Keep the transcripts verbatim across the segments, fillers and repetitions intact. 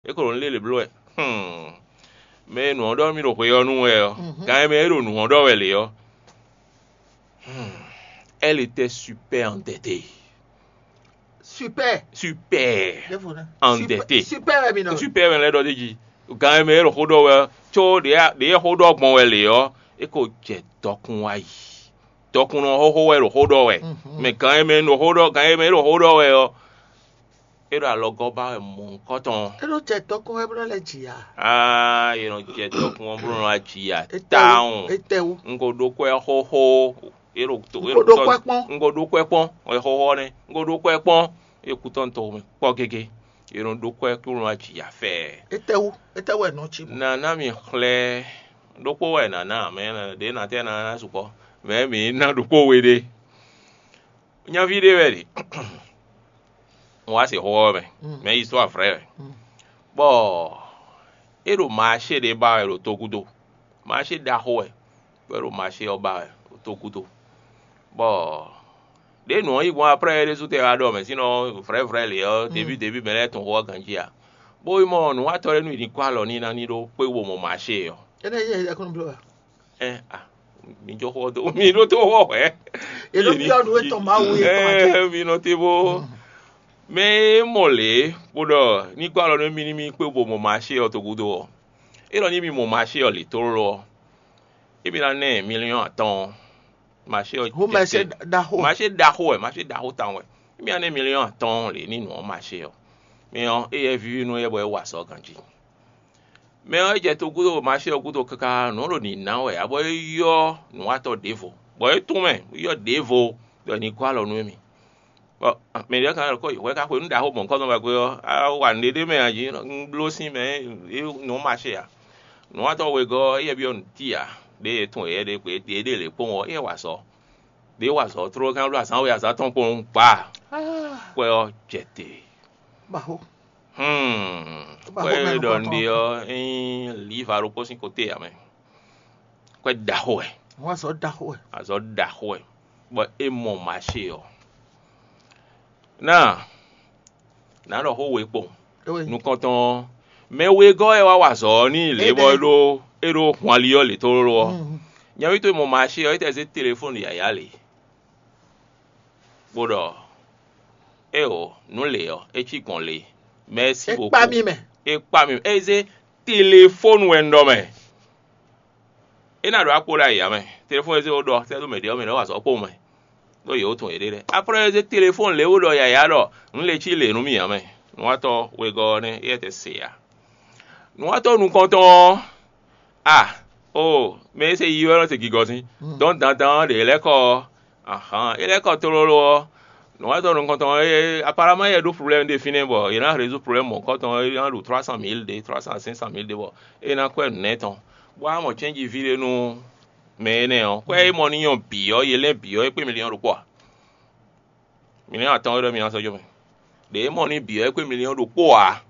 É ko ɖo nǔ lě lě bló wɛ. Hmm. Mɛ e nǔ ɔ́ ɖɔ mì ɖo hwe ɔ́ nu wɛ ɔ́, gan e mɛ é ɖo nǔ ɔ́ ɖɔ wɛ lě ɔ́, hmm. Elle était super endettée. Super. Super Ɖěvo ná. Endetté. Super wɛ mi nɔ. Super mɛ lɛ́ɛ ɖɔ d'é jí. Gan e mɛ é ɖo xó ɖɔ wɛ ɔ́, có ɖě ɖě é xó ɖɔ gbɔn wɛ lě ɔ́, é ko jɛ dɔkun wá yi. Dɔkunnɔ xóxó wɛ ɖo xó ɖɔ wɛ. Mɛ gan e mɛ ɖo xó ɖɔ gan e mɛ é ɖo xó ɖɔ wɛ ɔ́, é ɖo alɔgɔ́ ba wɛ mɔ̌hunkɔtɔn. É ɖo jɛ dɔkun wɛ bló lɛ jì ya. Aa, é nɔ jɛ dɔkun ɔ́ bló nɔ wá jì ya tawun. Étɛwú. Un ko ɖó kwɛ́ xóxó. É ɖo to é Ko ɖó kwɛ́ kpɔ́n. Un ko ɖó kwɛ́ kpɔ́n. Wɛ xóxó ɔ́ nɛ́. Un ko ɖó kwɛ́ kpɔ́n. É kú tɔn to mɛ kpɔ́ gégé. É nɔ ɖó kwɛ́ kú nɔ wá jì ya fɛ́ɛ. Étɛwú. Étɛwú wɛ nɔ ci. Nana mi xlɛ́ ɖokpó wɛ nana mɛ ɖě na tɛ na na sukpɔ mɛ mi na ɖokpó we ɖé. Nyaví ɖé wɛ ɖe. Un wá se xó ɔ́ mɛ. Mɛ yi sɔ afrɛ wɛ. Bɔ é ɖo maṣé ɖé ba wɛ ɖo togudo. Maṣé ɖaxó wɛ. Bɔ é ɖo maṣé ɔ́ ba wɛ ɖo togudo. Bɔ ɖě nǔ ɔ́ yi gbɔn aprɛ́ é ɖésú tɛ wá ɖɔ mɛ sínɔ vrɛ̌vrɛ́ lě ɔ́, deví deví mɛ lɛ́ɛ tunwun xó ɔ́ ganjí ǎ. Bó yi mɔ nǔwatɔ́ lɛ́ɛ nú yi ní kó alɔ n'i ná ní ɖó kpé wo mɔ maṣé ɔ́. Énɛ́ yɛ ɛkúnú bló wa. Ɛ a mi jó xó dó mi ɖó tó xó hwɛ̌. È nɔ byɔ́ nǔ etɔn Mawu etɔn ǎ. Ɛ mi nɔ te bó. Mɛ e mɔ lě bó ɖɔ ní kó alɔ nú mì ní mì kpé bo mɔ maṣé ɔ́ togúdo ɔ́, é ɖɔ ní mi mɔ maṣé ɔ́ lě tlóló ɔ́, é mi ná ná ɛ miliyɔn atɔ́ɔ́n. Maṣé ɔ́ Hú mɛ se ɖaxó. Maṣé ɖaxó wɛ, maṣé ɖaxó tawun wɛ. É mi ná ná ɛ miliyɔn atɔ́ɔ́n lě ní nǔ ɔ́ maṣé ɔ́. Mi ɔ́, éyɛ́ víví nú éyɛ́ bɔ é wa azɔ̌ ganjí. Mɛ ɔ́, é jɛ to gúdo maṣé ɔ́ gúdo káká nǔ ɖo nǐ ná wɛ ǎ bɔ é yɔ́ nǔwatɔ́ ɖěvo, bɔ é tún mɛ yɔ́ ɖěvo ɖɔ ní gɔ́ alɔ nú émí. Bɔ mɛ ɖě kan ko hwɛ ká xwe nú ɖaxó mɔ̌hunkɔtɔn wɛ gbe ɔ́, á wa nǔɖé ɖé mɛ ǎ jí, un bló sín mɛ é nǔ maṣé ǎ. Nǔwatɔ́ wegɔ́ ɔ́, éyɛ́ byɔ́ nǔ ti ǎ, ɖěe tún yɛ ɖě gbe ɖě ɖe lě kpɔ́n ɔ́, éyɛ́ wa azɔ̌. Ɖě wa azɔ̌ tló gán bló azǎn we azǎn tɔn kpɔn gbǎ. Kwɛ ɔ́ jɛ te. Baho. Hmm. Ba Kwɛ xo mɛ ɖɔ nukɔntɔn. Nɖe ɔ́, ényí liva ɖokpó sín kote ǎ mɛ. Kwɛ ɖaxó wɛ, Wọ́n sọ ɖaxó ɛ. azɔ̌ ɖaxó wɛ, bɔ é mɔ maṣé ɔ́. Náà, nǎ ɖɔ xó we kpɔn. Ewe. Nukɔntɔn ɔ́, mɛ wegɔ́ wɛ wá wa azɔ̌ ɔ́ n'i lě bɔ é Éɖɛ́. ɖó é ɖó hwanlí ɔ́ lě tlóló ɔ́. Mhm. Nyaví towe mɔ maṣé ɔ́, é tɛ zé telefóni yǎyá lě, bó ɖɔ éeǒ, nǔ lě ɔ́, é cí gbɔn lě. Mɛ̌si É beaucoup. kpá mì mɛ. É kpá mì, é zé telefóni wɛ un ɖɔ mɛ. É ná ɖo akpo ɖo ayǐ ǎ mɛ. Telefóni e zé wó ɖɔ sɛ́ dó mɛ ɖě ɔ́, mɛ ɖě wá wa azɔ̌ kpowun mɛ, ɖó yě wó tunwun yěɖée lɛ́ɛ. Après é zé telefóni lě wó ɖɔ yǎyá ɖɔ nǔ lě cí lě nú mì ǎ mɛ. Nǔwatɔ́ wegɔ́ ɔ́ nɛ́, éyɛ́ tɛ se ǎ. Nǔwatɔ́ nukɔntɔn ɔ́, a o mɛ e se yi wɛ nɔ se gigɔ sín. Dɔn dandan ɔ́ ɖě lɛ́ kɔ ɔ́, ahǎn é lɛ́ kɔ tlóló ɔ́, nǔwatɔ́ nukɔntɔn ɔ́, apparemment yɛ ɖó problème ɖé fínɛ́ bɔ yě ná résoudre problème mɔ̌hunkɔtɔn ɔ́, é ná ɖu trois cent mille ɖé, trois cent cinq cent mille ɖé bɔ é ná kwɛ́ nǔ nɛ́ tɔn, bó wá mɔ cɛ́nji ví ɖé nú mɛ énɛ́ ɔ́. Kwɛ́ é mɔ n'i ɔ́ bǐ ɔ́, yě lɛ́n bǐ ɔ́, é kpé miliyɔn ɖokpó ǎ. Miliyɔn atɔn wɛ ɖɔ mi ná sɔ́ jó mɛ. Ɖě é mɔ n'i bǐ ɔ́, é kpé miliyɔn ɖokpó ǎ.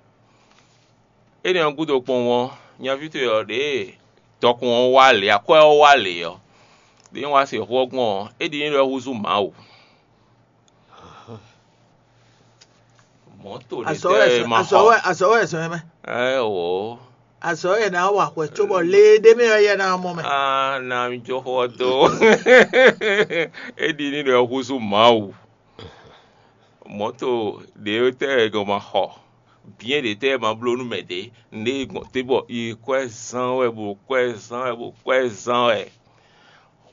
Énɛ́ ɔ́ gúdo kpɔ́n ɔ́, nyaví towe ɔ́, ɖěe dɔkun ɔ́ wá lě, akwɛ́ ɔ́ wá lě ɔ́, ɖě wá se xó ɔ́ gbɔn ɔ́, é ɖi ní ɖɔ é húzú Mawu. Mɔ̌to ɖě Azɔ̌ wɛ tɛ ma azɔ̌ xɔ. Wɛ azɔ̌ wɛ zɔn ɛ mɛ. Ɛ o. Azɔ̌ wɛ ná wa hwɛ cóbɔ lé ɖé mɛ ɔ́ yɛ ná mɔ mɛ. Ah, na mi jó xó ɔ́ dó. É ɖi ní ɖɔ é húzú Mawu. Mɔ̌to ɖě tɛ gɔn ma xɔ. Bǐ ɖě tɛ ma bló nú mɛ ɖě. Nǔɖé gbɔn te bɔ yi kwɛ́ zán wɛ bo kwɛ́ zán wɛ bo kwɛ́ zán wɛ.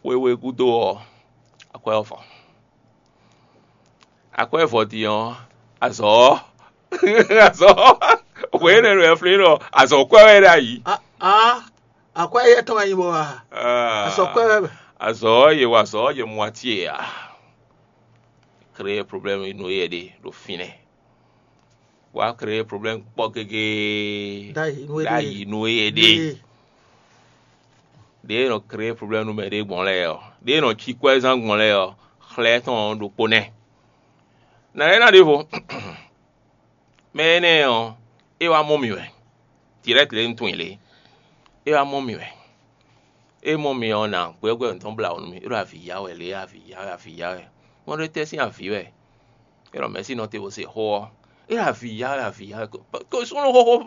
Xwéwe gúdo ɔ́, akwɛ́ ɔ́ fɔ. Akwɛ́ vɔ din ɔ́, azɔ̌ ɔ́, azɔ̌ ɔ́, hwě énɛ́ nɔ ɛ flín ɖɔ azɔ̌ kwɛ́ wɛ ɖ'ayǐ. A a akwɛ́ yɛ tɔn wɛ nyi bɔ wa. Azɔ̌ kwɛ́ wɛ mɛ. Azɔ̌ ɔ́, yě wa azɔ̌ ɔ́, yě mɔ atín e ǎ. Créer problème nú yɛ ɖe ɖo fínɛ́. Wá créer problème kpɔ́ gégé. Ɖ'ayǐ nú yɛ ɖe. Ɖ'ayǐ nú yɛ ɖe. Ɖě e nɔ créer problème nú mɛ ɖé gbɔn lɛ́ɛ ɔ́, ɖě e nɔ cí kwɛ́zán gbɔn lɛ́ɛ ɔ́, xlɛ́ tɔn ɔ́ ɖokpó nɛ́. Nǎ lɛ́ ná ɖěvo. Mɛ énɛ́ ɔ́, é wá mɔ mì wɛ. Direct lě un tunwun i lě. É wá mɔ mì wɛ. É mɔ mì ɔ́, nǎ gbɛ́gbɛ́ nǔtɔn blá wǔ nú mì. É ɖo avǐ ya wɛ lě, avǐ ya wɛ, avǐ ya wɛ. Mɔ ɖé tɛ́ sín avǐ wɛ. É ɖɔ mɛ̌si nɔ te bó se xó ɔ́. É ɖo avǐ ya, é ɖo avǐ ya. Ko súnnu xóxó xó